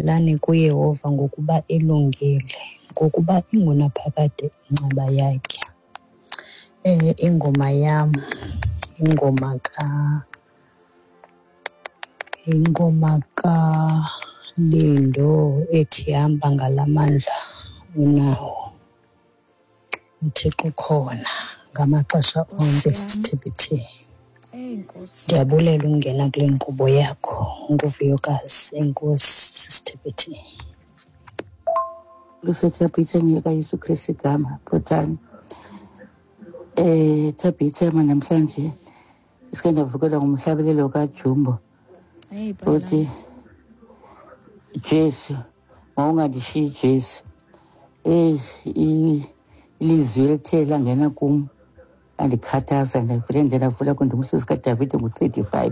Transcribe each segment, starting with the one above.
Thandazelani kuYehova ngokuba elungile, ngokuba ingunaphakade inceba yakhe. Ingoma yam yingoma kaLindo ethi hamba ngala mandla unawo. UThixo ukhona ngamaxesha onke, sisiTBT. Ndiyabulela ukungena kule nkqubo yakho nguVuyokazi. Enkosi, sisiTBT. Kusethabhitha ngekaYesu Kristu igama bhotani. Thabhitha ma namhlanje sike ndavukelwa ngumhlabelelo kaJumbo uthi Jesu mawungandishiyi Jesu. Ilizwi elithe langena kum landikhathaza, ndavele ndavula kwindumiso zikaDavide ngu-35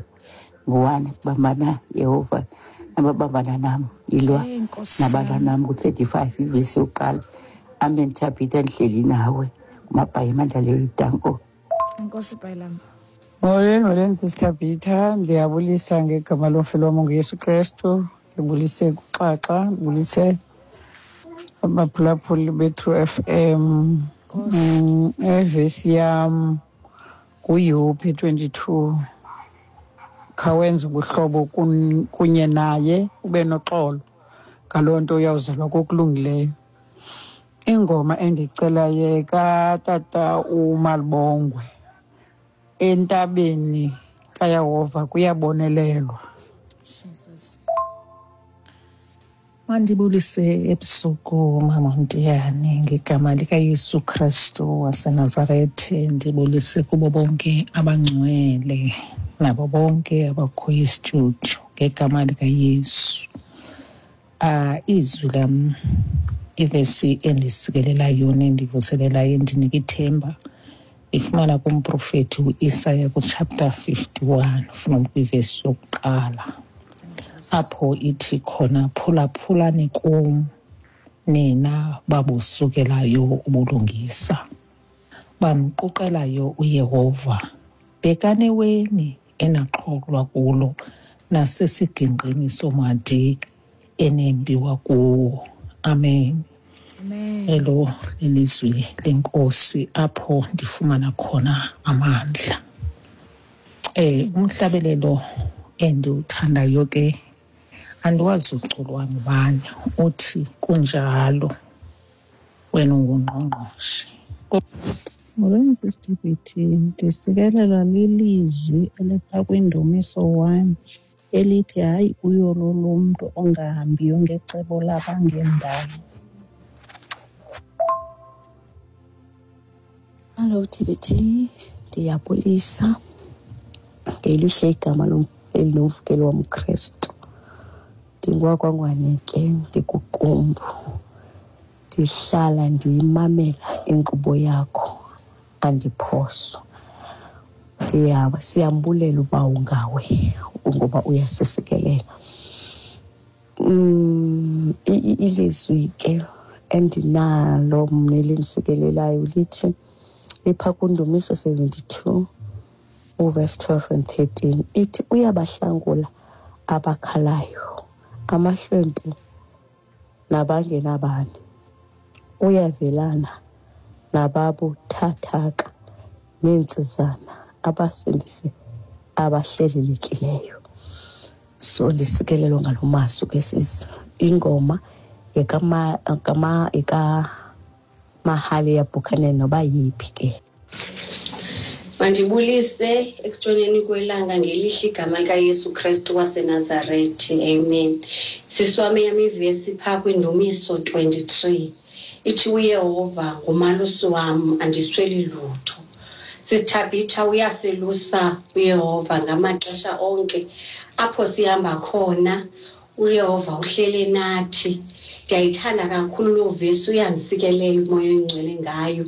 ngu-1, bambana Yehova nababambana nam, ilwa nabalwa nam, ngu-35 ivesi yokuqala. Amen. Thabhitha, ndihleli nawe kumabhayi emandlaleni. Danko. Enkosi, Bhayilam. Molweni, molweni, sisiThabhitha. Ndiyabulisa ngegama lomfelo wam nguYesu Krestu. Ndibulise kuXaxa, ndibulise abaphulaphuli beTrue FM. Ivesi yam nguYobi 22. Khawenze ubuhlobo kunye naye ube noxolo. Ngaloo nto uyawuzelwa kokulungileyo. Ingoma endicelayo katata uMalibongwe, entabeni kaYehova kuyabonelelwa. Jesus. Mandibulise ebusuku, Mama Ntiyane, ngegama likaYesu Kristu waseNazarethe. Ndibulise kubo bonke abangcwele nabo bonke abakhoyo istudio ngegama likaYesu. Izwi lam, ivesi endisikelelayo nendivuselelayo endinika ithemba, ifumana kumprofethi uIsaya kuchapter 51 from kwivesi yokuqala, apho ithi khona, phulaphulani kum nina babusukelayo ubulungisa, bamquqelayo uYehova, bhekani eweni enaqhoklwa kulo nasesigingqini somadi enembiwa kuwo. Amen. Amen. Elo lilizwi lenkosi apho ndifumana khona amandla. Umhlabelelo endiwuthandayo ke andiwazi uculwa ngubani, uthi kunjalo wena ungungqongqoshe. Molweni, sisiTBT. Ndisikelelwa lilizwi elipha kwiNdumiso 1 elithi hayi uyolo lomntu ongahambiyo ngecebo labangendawo. Hallo TBT, ndiyabulisa ngelihle igama lomfeli nomfukeli womKrestu. NdingowakwaNgwane ke, ndikuQumbu. Ndihlala ndiyimamela inkqubo yakho, andiphoswa. Siyambulela uba ungawe ngoba uyasisikelela. Ilizwi ke endinalo mna elindisikelelayo lithi lipha kuNdumiso 72 uverse 12 and 13, ithi uyabahlangula abakhalayo, amahlwempu nabangenabani, uyavelana nababuthathaka neentsizana, abasindise abahlelelekileyo. So ndisikelelwa ngalo mazwi ke sisi. Ingoma yekaMahale yaBuchanan noba yiphi ke. Mandibulise ekutshoneni kwelanga ngelihle igama likaYesu Krestu waseNazarethi. Amen. Sisi wam, eyam ivesi phaa kwiNdumiso 23 ithi uYehova ngumalusi wam, andisweli lutho. Sithabitha, uyaselusa uYehova ngamaxesha onke. Apho sihamba khona uYehova uhlele nathi. Ndiyayithanda kakhulu loo vesi, uyandisikelela uMoya oyiNgcwele ngayo.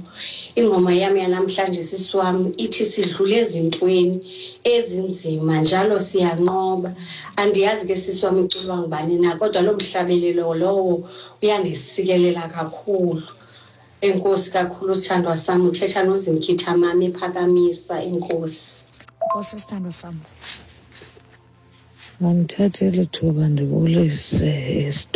Ingoma yam yanamhlanje, sisi wam, ithi sidlule ezintweni ezinzima njalo siyanqoba. Andiyazi ke, sisi wam, iculwa ngubani na, kodwa loo mhlabelelo lowo uyandisikelela kakhulu. Enkosi kakhulu, sithandwa sam. Uthetha noZimkhitha mami ephakamisa. Enkosi. Nkosi, sithandwa sam. Mandithathe eli thuba ndibulise.